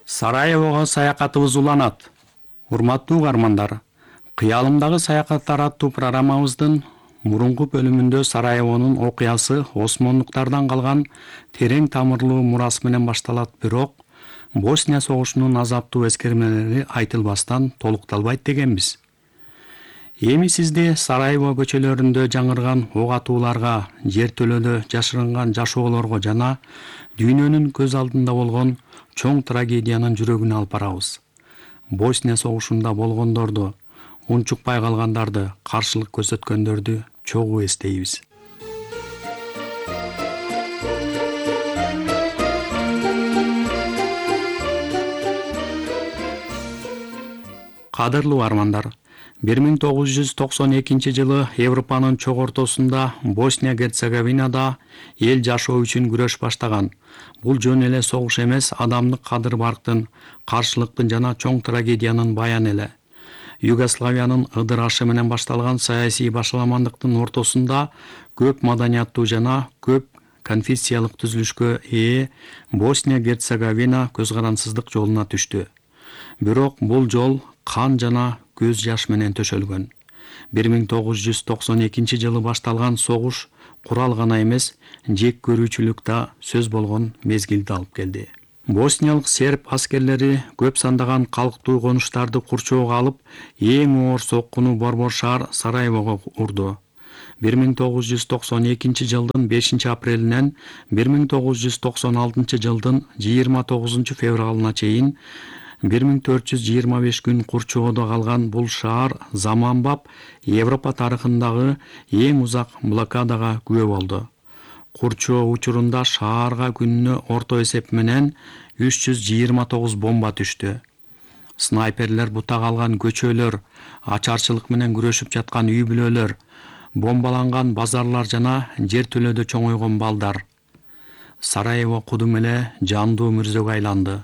Сараевого саякатыбыз уланат. Урматтуу угармандар, кыялымдагы саякаттар аттуу программабыздын мурунку бөлүмүндө Сараевонун окуясы осмондуктардан калган терең тамырлуу мурас менен башталат, бирок Босния согушунун азаптуу эскермелери айтылбастан толукталбайт дегенбиз. Эми сизди Сараево көчөлөрүндө жаңырган ок атууларга, жертөлөдө жашырынган жашоолорго жана дүйнөнүн көз алдында болгон чоң трагедиянын жүрөгүнө алып барабыз. Босния согушунда болгондорду, унчукпай калгандарды, каршылык көрсөткөндөрдү чогуу эстейбиз. Кадырлуу армандар, 1992 жылы Европанын чок ортосунда Босния-Герцеговинада эл жашоо үчүн күрөш баштаган. Бул жөн эле согуш эмес, адамдык кадыр-барктын, каршылыктын жана чоң трагедиянын баяны эле. Югославиянын ыдырашы менен башталган саясий башаламандыктын ортосунда көп маданияттуу жана көп конфессиялык түзүлүшкө ээ Босния-Герцеговина көз карансыздык жолуна түштү. Бирок бул жол кан жана көз жаш менен төшөлгөн. 1992 жылы башталган согуш курал гана эмес, жек көрүүчүлүк да сөз болгон мезгилди алып келди. Босниялык серб аскерлери көп сандаган калктуу конуштарды курчоого алып, эң оор соккуну борбор шаар Сараевого урду. 1992 жылдын 5 апрелинен 1996 жылдын 29 февралына чейин 1425 күн курчоодо калган бул шаар заманбап Европа тарыхындагы эң узак блокадага күбө болду. Курчоо учурунда шаарга күнүнө орто эсеп менен 329 бомба түштү. Снайперлер бута калган көчөлөр, ачарчылык менен күрөшүп жаткан үй-бүлөлөр, бомбаланган базарлар жана жертөлөдө чоңойгон балдар. Сараево кудум эле жандуу мүрзөгө айланды.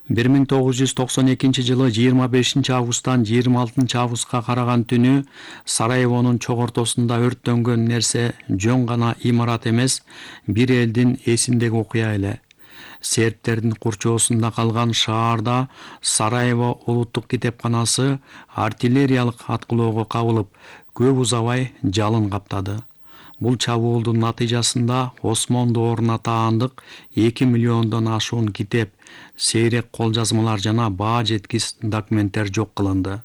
1992 жылы 25 августтан 26 августка караган түнү Сараевонун чок ортосунда өрттөнгөн нерсе жөн гана имарат эмес, бир элдин эсиндеги окуя эле. Сербтердин курчоосунда калган шаарда Сараево улуттук китепканасы артиллериялык аткылоого кабылып, көп узабай жалын каптады. Бул чабуулдун натыйжасында Осмон дооруна таандык 2 миллиондон ашуун китеп, сейрек кол жазмалар жана баа жеткис документтер жок кылынды.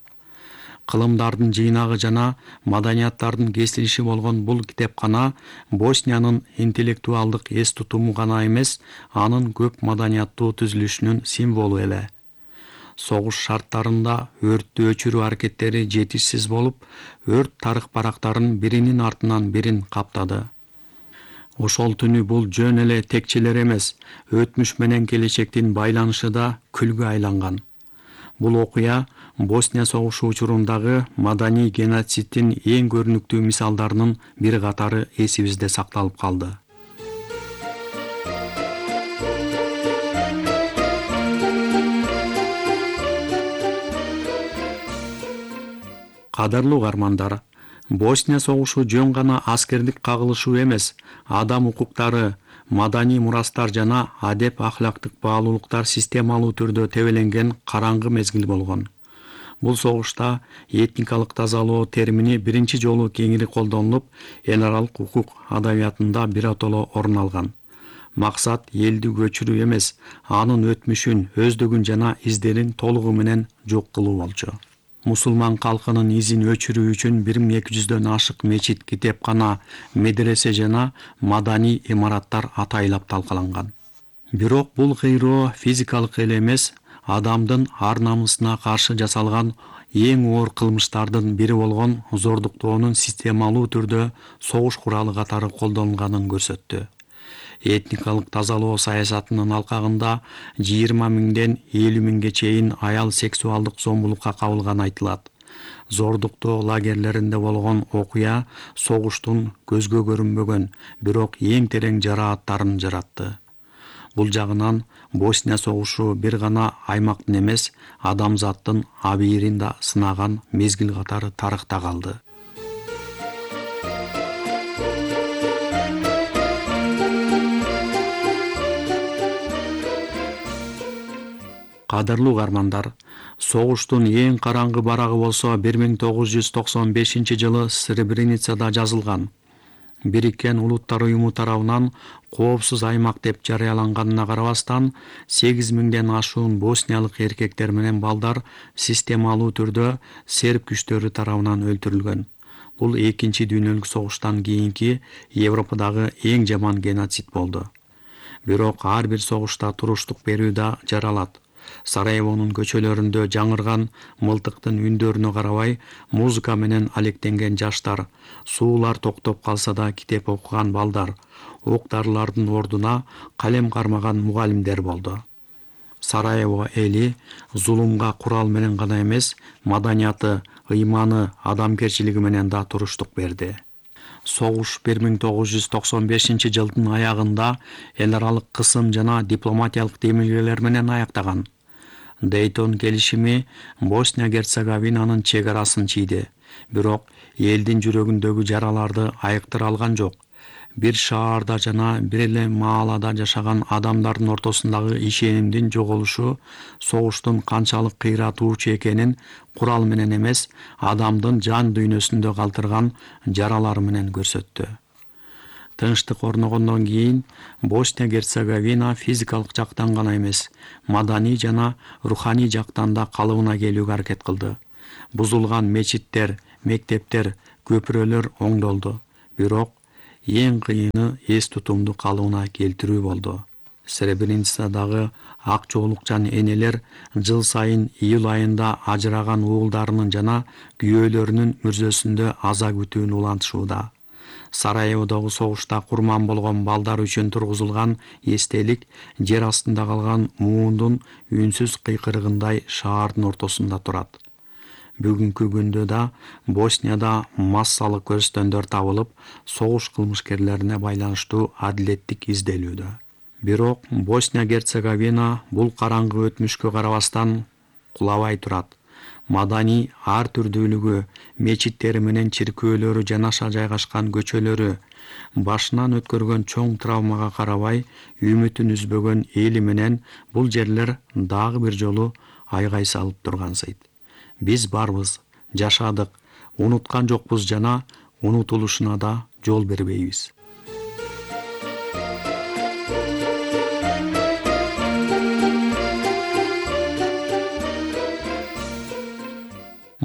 Кылымдардын жыйнагы жана маданияттардын кесилиши болгон бул китепкана Босниянын интеллектуалдык эс тутуму гана эмес, анын көп маданияттуу түзүлүшүнүн символу эле. Согуш шарттарында өрттү өчүрүү аракеттери жетишсиз болуп, өрт тарых барактарын биринин артынан бирин каптады. Ошол түнү бул жөн эле текчелер эмес, өтмүш менен келечектин байланышы да күлгү айланган. Бул окуя Босния согушу учурундагы маданий геноциддин эң көрүнүктүү мисалдарынын бир катары эсибизде сакталып калды. Кадырлуу угармандар, Босния согушу жөн гана аскердик кагылышуу эмес, адам укуктары, маданий мурастар жана адеп-ахлактык баалуулуктар системалуу түрдө тебеленген караңгы мезгил болгон. Бул согушта этникалык тазалоо термини биринчи жолу кеңири колдонулуп, эл аралык укук адабиятында биротоло орун алган. Максат элди көчүрүү эмес, анын өтмүшүн, өздүгүн жана издерин толугу менен жок кылуу болчу. Мусулман калкынын изин өчүрүү үчүн 1200дөн ашык мечит, китепкана, медресе жана маданий имараттар атайлап талкаланган. Бирок бул кыйроо физикалык эле эмес, адамдын ар-намысына каршы жасалган эң оор кылмыштардын бири болгон зордуктоонун системалуу түрдө согуш куралы катары колдонулганын көрсөттү. Этникалык тазалоо саясатынын алкагында 20 миңден 50 миңге чейин аял сексуалдык зомбулукка кабылганы айтылат. Зордуктоо лагерлеринде болгон окуя согуштун көзгө көрүнбөгөн, бирок эң терең жарааттарын жаратты. Бул жагынан Босния согушу бир гана аймактын эмес, адамзаттын абийирин да сынаган мезгил катары тарыхта калды. Кадырлуу угармандар, согуштун эң караңгы барагы болсо 1995-жылы Сребреницада жазылган. Бириккен Улуттар уюму тарабынан коопсуз аймак деп жарыяланганына карабастан 8000ден ашуун босниялык эркектер менен балдар системалуу түрдө серб күчтөрү тарабынан өлтүрүлгөн. Бул экинчи дүйнөлүк согуштан кийинки Европадагы эң жаман геноцид болду. Бирок ар бир согушта туруштук берүү да жаралат. Сараевонун көчөлөрүндө жаңырган мылтыктын үндөрүнө карабай, музыка менен алектенген жаштар, суулар токтоп калса да китеп окуган балдар, ок-дарылардын ордуна калем кармаган мугалимдер болду. Сараево эли зулумга курал менен гана эмес, маданияты, ыйманы, адамгерчилиги менен да туруштук берди. Согуш 1995-жылдын аягында эл аралык кысым жана дипломатиялык демилгелер менен аяктаган. Дейтон келишими Босния-Герцеговинанын чек арасын чийди, бирок элдин жүрөгүндөгү жараларды айыктыра алган жок. Бир шаарда жана бир эле маалада жашаган адамдардын ортосундагы ишенимдин жоголушу согуштун канчалык кыйратуучу экенин курал менен эмес, адамдын жан дүйнөсүндө калтырган жаралары менен көрсөттү. Тынчтык орногондон кийин Босния-Герцеговина физикалык жактан гана эмес, маданий жана руханий жактан да калыбына келүүгө аракет кылды. Бузулган мечиттер, мектептер, көпүрөлөр оңдолду. Бирок эң кыйыны эс тутумду калыбына келтирүү болду. Сребреницадагы ак жоолукчан энелер жыл сайын июль айында ажыраган уулдарынын жана күйөөлөрүнүн мүрзөсүндө аза күтүүнү улантышууда. Сараеводогу согушта курман болгон балдар үчүн тургузулган эстелик жер астында калган муундун үнсүз кыйкырыгындай шаардын ортосунда турат. Бүгүнкү күндө да Боснияда массалык көрсөтөндөр табылып, согуш кылмышкерлерине байланыштуу адилеттик изделүүдө. Бирок Босния-Герцеговина бул караңгы өтмүшкө карабастан кулабай турат. Маданий ар түрдүүлүгү, мечиттери менен чиркөөлөрү жанаша жайгашкан көчөлөрү, башынан өткөргөн чоң травмага карабай, үмүтүн үзбөгөн эли менен бул жерлер дагы бир жолу айгай салып тургансыйт. Биз барбыз, жашадык, унуткан жокпуз жана унутулушуна да жол бербейбиз.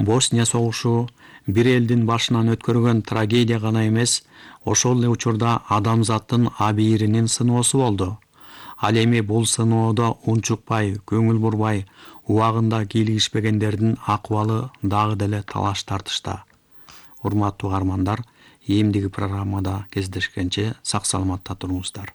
Босния согушу бир элдин башынан өткөргөн трагедия гана эмес, ошол эле учурда адамзаттын абийиринин сыноосу болду. Ал эми бул сыноодо унчукпай, көңүл бурбай, убагында кийлигишпегендердин акыбалы дагы деле талаш тартышта. Урматтуу угармандар, эмдиги программада кездешкенче сак саламатта туруңуздар.